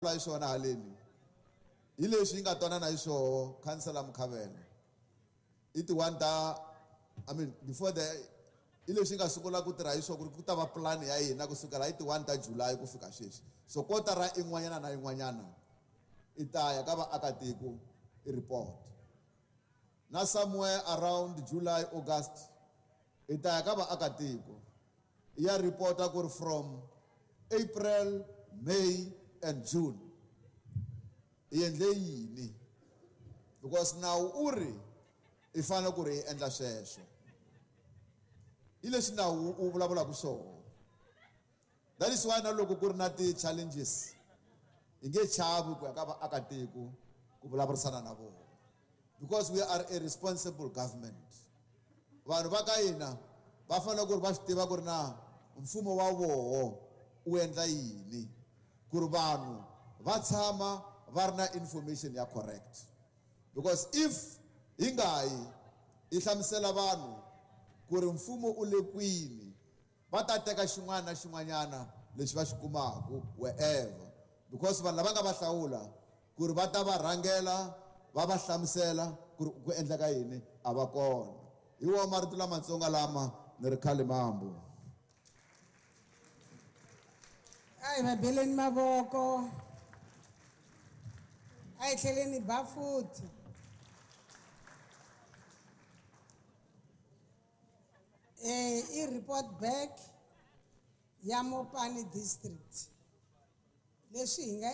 Hi swona haleni hi leswi yi nga twanana hi swoho khansela Mukhavela i ti-1 ta, I mean before the, hi leswi yi nga sungula ku tirha hi swona ku ri ku ta va plan ya hina kusukela hi ti-1 ta July ku fika sweswi. So kotara in'wanyana na yin'wanyana i ta ya ka vaakatiko i report, na somewhere around July, August i ta ya ka vaakatiko i ya reporta ku ri from April, May and June i endle yini, because nawu u ri i fanele ku ri i endla sweswo. Hi leswi nawu wu vulavulaka swona. That is why na loko ku ri na ti-challenges hi nge chavi ku ya ka vaakatiko ku vulavurisana na vona, because we are a responsible government. Vanhu va ka hina va fanele ku ri va swi tiva ku ri na mfumo wa voho wu endla yini, ku ri vanhu va tshama va ri na information ya correct. Because if hi nga yi hi hlamusela vanhu ku ri mfumo u le kwini, va ta teka xin'wana na xin'wanyana lexi va xi kumaka wherever, because vanhu lava nga va hlawula ku ri va ta va rhangela va va hlamusela ku ri ku endleka yini a va kona. Hi wona marito lamatsongo lama ni ri khale mambo. A hi va beleni mavoko, a hi tlheleni ba futhi. I report back ya Mopani district leswi hi nga